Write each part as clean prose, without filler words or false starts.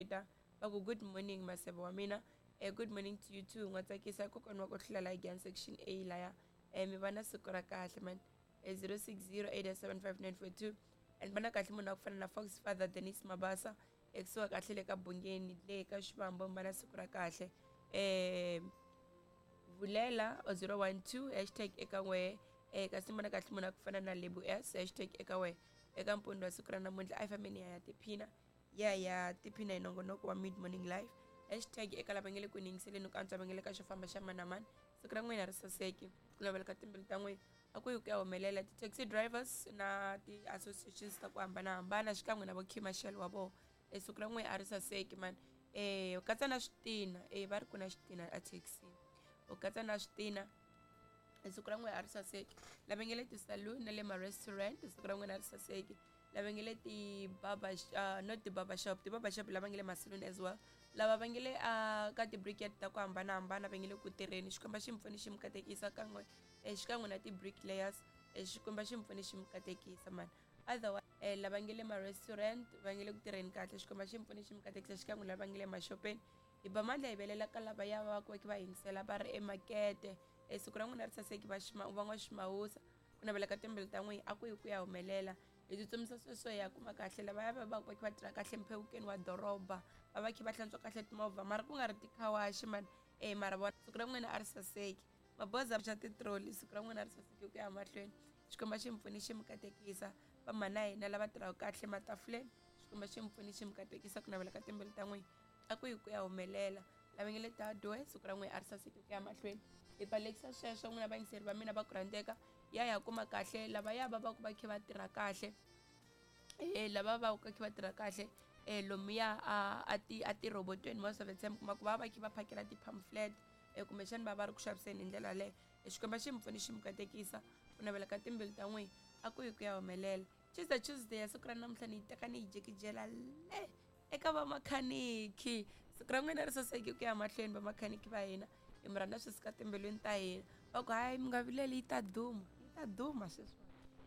Ta va ku good morning maseve wa mina. Good morning to you too n'wa tsakisa kokwana wa ku hlula la Giyani section A laya. Mi va na siku ra kahle man. 0608755942 and va na kahle munhu wa ku fana na Fox Father Dennis Mabasa ekusuhi kahle le ka Bungeni le ka Xivambo mi va na siku ra kahle. Vulela 012 hashtag eka n'we kasi mi vona kahle munhu wa ku fana na Lebu S hashtag eka wehe eka mpundzu wa siku ra namuntlha a hi fambeni ya tiphina ya ya tiphina hi nongonoko wa mid morning live hashtag eka lava nge le ku yingiseleni ku antswa va nge le ka xo famba xa mani na mani siku ra n'wina ri saseki ku navela ka timbilu ta n'wina a ku yi ku ya humelela ti-taxi drivers na ti-associations ta ku hambanahambana xikan'we na vo commercial wa vona e siku ra n'wina a ri saseki mani u katsa na switina e va ri ku na xitina a thekisini u katsa na switina siku ra n'wina a ri saseki lava nge le ti-saloon na le ma-restaurant siku ra n'wina a ri saseki lava nge le ti-barber not ti-barber shop ti-barber shop lava nge le ma-saloon as well lava va nge le ka ti-brickhead ta ku hambanahambana va nge le ku tirheni xikwembu xi mi pfuni xi mi katekisa kan'we xikan'we na ti-brick layers xikwembu xi mi pfuni xi mi katekisa mani otherwise lava nge le ma-restaurant va nge le ku tirheni kahle xikwembu xi mi pfuni xi mi katekisa xikan'we lava nge le maxopeni hi ba mandla hi velela ka lava ya va va va yingisela va ri emakete siku ra n'wina ri saseki va va n'waximawusa ku navela ka timbilu ta n'wina a ku yi ku ya humelela hi tsutsumisa sweswo hi ya kuma kahle lavaya va va va kha va tirha kahle mphewukeni wa doroba va va kha va hlantswa kahle timovha mara ku nga ri tikhawaxi mani e mara vona siku ra n'wina a ri saseki maboza xa titroli siku ra n'wina a ri saseki ku ya mahlweni xikwembu xi mi pfuni xi mi katekisa vamhana hina lava tirhaka kahle matafuleni xikwembu xi mi pfuni xi mi katekisa ku navela ka timbilu ta n'wina a ku yi ku ya humelela lava nge le tadwe siku ra n'wina a ri saseki ku ya mahlweni hi balekisa sweswo n'wina vayingiseri va mina va ku rhandzeka ya ya kuma kahle lavaya va va ku va kha va tirha kahle lava va ku kha va tirha kahle lomuya a ti a tirhobotweni most of the time kuma ku va va kha va phakela ti-pamphlet kumbexani va va ri ku xaviseni hi ndlela yaleyo xikwembu xi mi pfuni xi mi katekisa ku navela ka timbilu ta n'wina a ku yi ku ya humelela Tuesday Tuesday ya siku ra namuntlha ni yi teka ni yi jikijela le eka vamakhaniki siku ra n'wina ri saseki ku ya mahlweni vamakhaniki va hina hi mi rhandza swi suka timbilwini ta hina va ku hayi mi nga vileli yi ta duma yi ta duma sweswi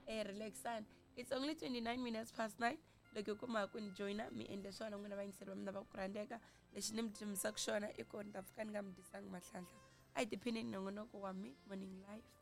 relaxani it's only 29 minutes past 9 loko hi kuma ku ni joyina mi endle swona n'wina vayingiseri va mina va ku rhandzeka lexi ni mi dyumisaka xona i ku ni ta pfuka ni nga mi dyisanga mahlanhla a hi tiphineni nongonoko wa mid morning life.